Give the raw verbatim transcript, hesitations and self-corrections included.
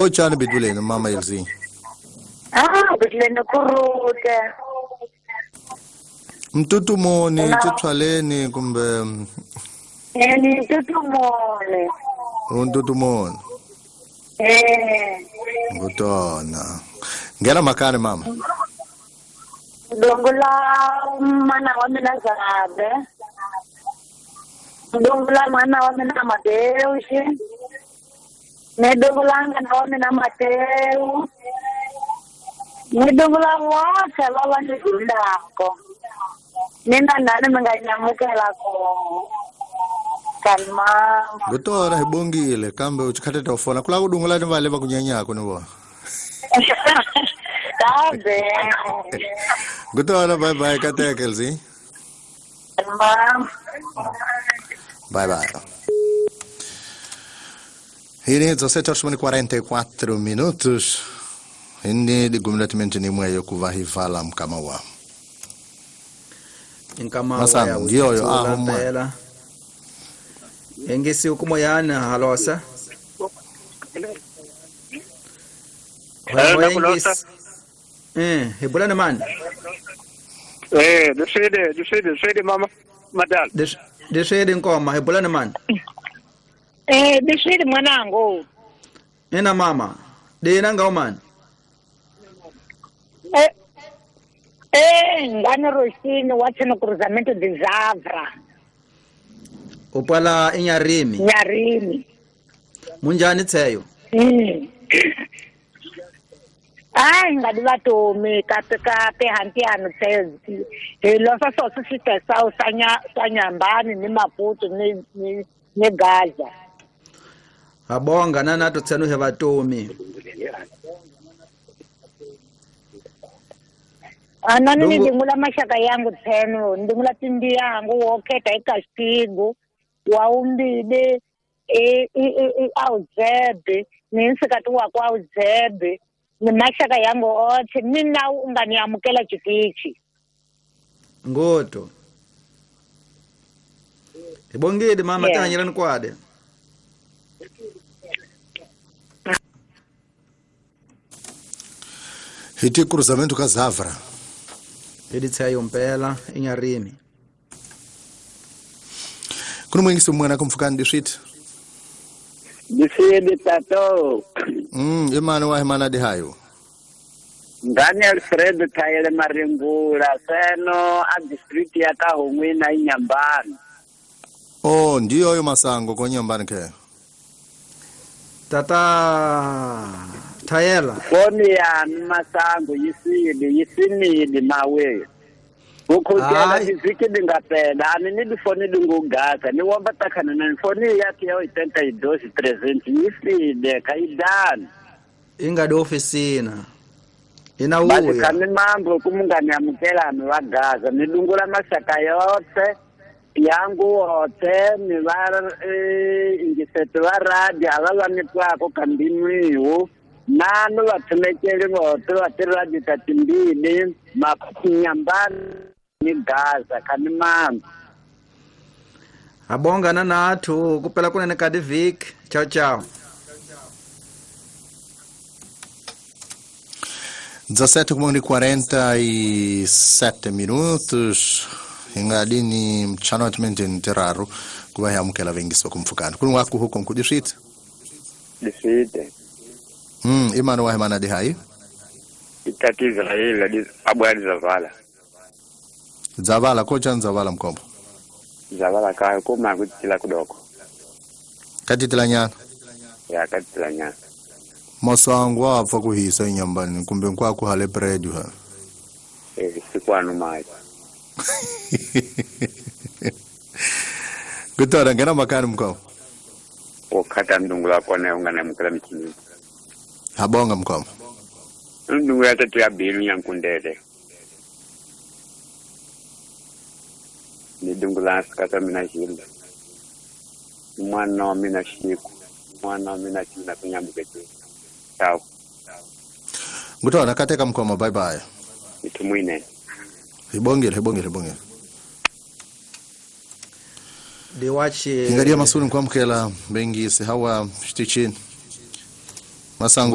Ochani biduleni mama Elsie. Ah, biduleni kurute. Mtutumoni tshwaleni kumbe eh ni mtutumoni. Mtutumoni. Eh. Ngutona. Ngena makani mama. Dongula mana wa mina zabe. Dongula mana wa mina Mateushi. Ne dongula ngana wa mina Mateu. Ne dongula wote lava ni dulako. Nina nani minganyamukela ko. Kalma. Ngutona hibongile kambe uchikhateta ufona kula kudungula ni vale vakunyanyako ni vona. Kabe. Ngutona bye bye kateke Elsie. Kalma. Bye bye. Hii dezessete horas e quarenta e quatro minutos. Hindi digumletmente ni mweyo kuvahivala mkama wa. Nkama wa ya ndiyo ah mwe. Engesi ukumoyana halosa. Hello Eh, hebulana man. Eh, desede, desede, desede mama madal. Desede nkoma hebulana man. Eh, desede mwanangu. Ena mama. De nanga man. Eh, eh, ngani Rosini wathi no cruzamento de Zavra. Upala inyarimi. Nyarimi. Munjani tseyo? Mm. Ai ngadi vatomi kape kape hantiano tseyo. Hi losa soso sitesa usanya sanyambani ni Maputo ni ni, ni Gaza. Abonga nana to tsenu he vatomi. Anani ni ndingula mashaka yangu tsenu ndingula tindi yangu woketa ikastigo waumbide e e awuzebe ninsikati wako awuzebe ni mashaka yangu othe mina unganiamukela chitichi ngoto ibongede mama yeah. Tanyela nkwade hiti cruzamento ka Zavra editsayo mpela inyarimi kuno mwingisi mwana kumfukani dishit Disidi tato. Mm, imani wa imana di hayo. Ngani Alfredo Tayele Marimbula seno a district ya Kahungwi na Inyambani. Oh, ndiyo yo masango ko Nyambani ke. Tata Tayela. Foni ya masango yisidi yisimidi mawe. Ukutela diziki dingapela ani ni difoni dingugasa ni wamba takana na foni yake ya oitenta e dois trezentos yiside kaidani. Inga do oficina. Ina uya. Basi kami mambo kumungani amukela amewagaza nidungula mashaka yote yangu wote ni var eh, ingisetu wa radio alala nitwako kambimiu nanu vathumekeli vote va tiradio ta timbili makunyambani ni Gaza kani mambo. Abonga na nathu kupela kunene kadi vik. Ciao ciao. dezessete e quarenta e sete minutos ingadini mchanoatmente ntiraru kuba yamukela vengiswa kumfukana kulunga huko nkudishit dishite mm imani wa imana di hai itati Israel di abwali zavala zavala kocha nzavala mkombo zavala kayo kuma kutila kudoko katitila nyana ya katitila nyana masango apfa kuhisa inyambani kumbe nkwaku hale bread ha eh sikwanu mai kutora ngena makani mkao okata ndungula kone ungana mukala mchini habonga mkao ndungula tatu ya bilu nyankundele ni dungula sikata mina jilda mwana mina shiku mwana mina china kunyambuke. Ciao. Ngutona kateka mkoma bye bye. Itumwine. Ibongele ibongele ibongele. Diwachi. Ngadia masuni kwa mkela bengi se hawa shtichin. Masango.